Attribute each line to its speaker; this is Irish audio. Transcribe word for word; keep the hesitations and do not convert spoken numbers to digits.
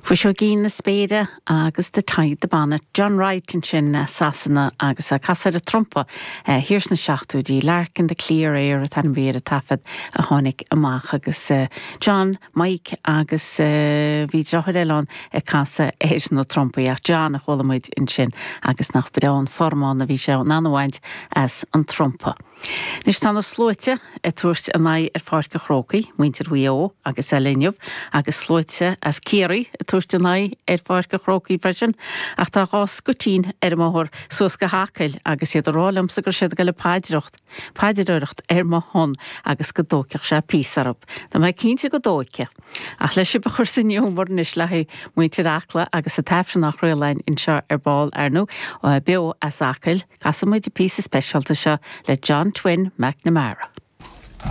Speaker 1: Fuiseoigín na spéire agus the Tide the Bonnet. John Wright ansin Sasana agus ag casadh ar an trumpa thiar sna seachtóidí Lark in the Clear Air an t-ainm a bhí ar an taifead a tháinig amach agus John, Mike agus bhí deartháir eile ann ag casadh ar na trumpaí ach John a chuala muid ansin agus nach breá an formán a bhí sé in ann a bhaint as an trumpa. Anois tá na sluaite ag tabhairt a n-aghaidh ar Pháirc an Chrócaigh, muintir Mhaigh Eo agus eile inniu, agus sluaite as Ciarraí ag tabhairt a n-aghaidh ar Pháirc an Chrócaigh freisin, ach tá dhá scuitín ar an mbóthar suas go hAcaill agus iad ag rá liomsa go raibh siad ag dul ag paidreacht, paidreoireacht ar mo shon agus go dtóigfeadh sé píosa orthu. Tá mé cinnte go dtóigfidh. Ach le sibh a chur san ghiúmar anois le haghaidh muintir Acla agus an t-aifreann á chraoladh anseo ar ball ar ndóigh beo as Acaill, casfaidh muid an píosa speisialta seo le John Twin McNamara.